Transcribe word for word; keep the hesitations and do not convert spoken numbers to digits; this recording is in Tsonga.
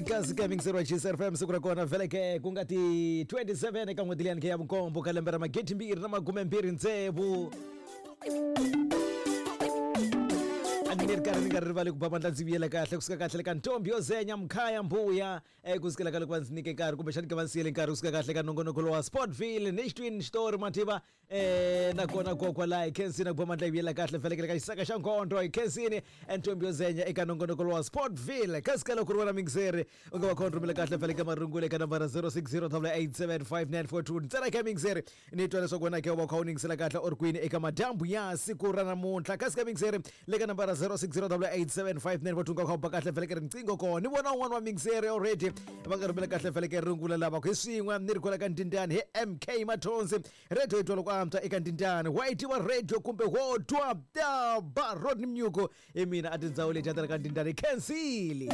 Kasi ka mixer wa G S F M, siku ra kona vheleke ku nga ti twenty-seven eka n'hweti liyani ya vunkombo ka lembe ra magidi mbirhi na makume mbirhi ntsevu. A ni ri karhi ni nga rivali ku ba mandla ndzi vuyela kahle kusuka kahle le ka ntombi yo zenya mkhaya mbuya eh, kusukela ka loko va ndzi nyike nkarhi kumbexani ka va ndzi siyele nkarhi kusuka kahle ka nongonoko lowa Sportville ni xitwini xitori mativa eh, nakona kokwala hi khensini ku ba mandla yi vuyela kahle velekele ka xisaka xa nkondo hi khensini ntombi yo zenya eka nongonoko lowa Sportville. Kasi ka loko ri wena mixeri u nga va khona rhumela kahle veleke marungula eka nambara zero six zero eight seven five nine four two ntsena ka mixeri ni twa leswaku wena ke u va u kha u ningisela kahle or kwini eka madyambu ya siku ra namuntlha. Kasi ka mixeri le ka nambara zero six zero eight seven five nine four two nga kha u ba kahle veleke riqingho kona ni vona un'wana wa mixeri already va nga rhumela kahle veleke rungula lava ku hi swin'we ni ri kwala ka Ndindani hi M K Mathonsi radio yi twa loko antswa eka Ndindani wa yi tiva radio kumbe wo twa ta ba Rodney Mnyuko hi mina a tindhawu leti ya ka Ndindani khensile.